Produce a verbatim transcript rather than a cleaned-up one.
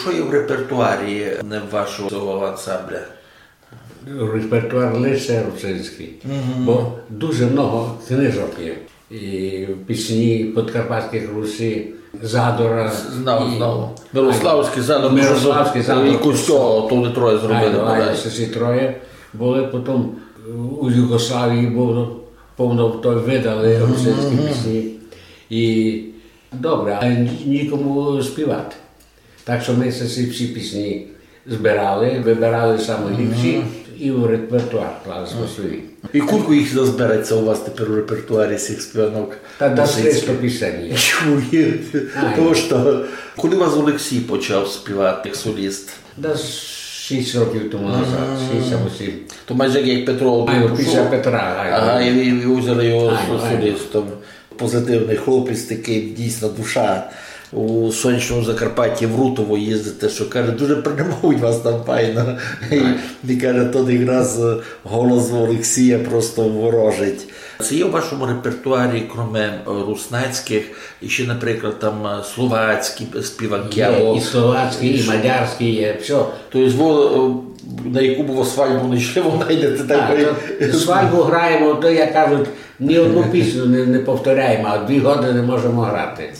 Што є в репертуарі вашого цього ансамбля? Репертуар лише русинськый, бо дуже много книжок є. І пісні подкарпатськых русі, Задора. Знав, і знав. Мирославськый Задор, Мирославськый Задор, і Кузько, то вони троє зробили, айно, айно, айно, сесі троє были, потом у Югославії было повно, то выдали русинські пісні. І добре, але ні-, нікому співати. Так што мы сесі всі пісні збирали, выбирали самі ліпші і в репертуар клали сьме собі. І кулько їх назбереться у вас тепер у репертуарі сих співанок? Та десь триста пісень є. Чуєте? Ай. Тому што, коли у вас Олексій почав співати як соліст? Десь шість років тому назад, шість або сім. То майже як Петро. Ай, після Петра, ай. Ага, і ви, ви взяли його солістом. Позитивный хлопець, такый дійсно душа. У сонячному Закарпатті в Рутово їздите, што, каже, дуже приймають вас там файно. І, і каже, тот якраз, е, голос Олексія просто ворожить. Ци є у вашому репертуарі, кроме, е, руснацькых, іщи, наприклад, там, е, словацькі співанкы? Є, або і словацькі, і мадярські є, всьо. То єсть, во, е, на яку бы свадьбу не йшли, вы найдете. Так, такой. То свадьбу граєме, то, як кажуть, ні одну пісню не, не повторяєме, а дві годины можеме грати.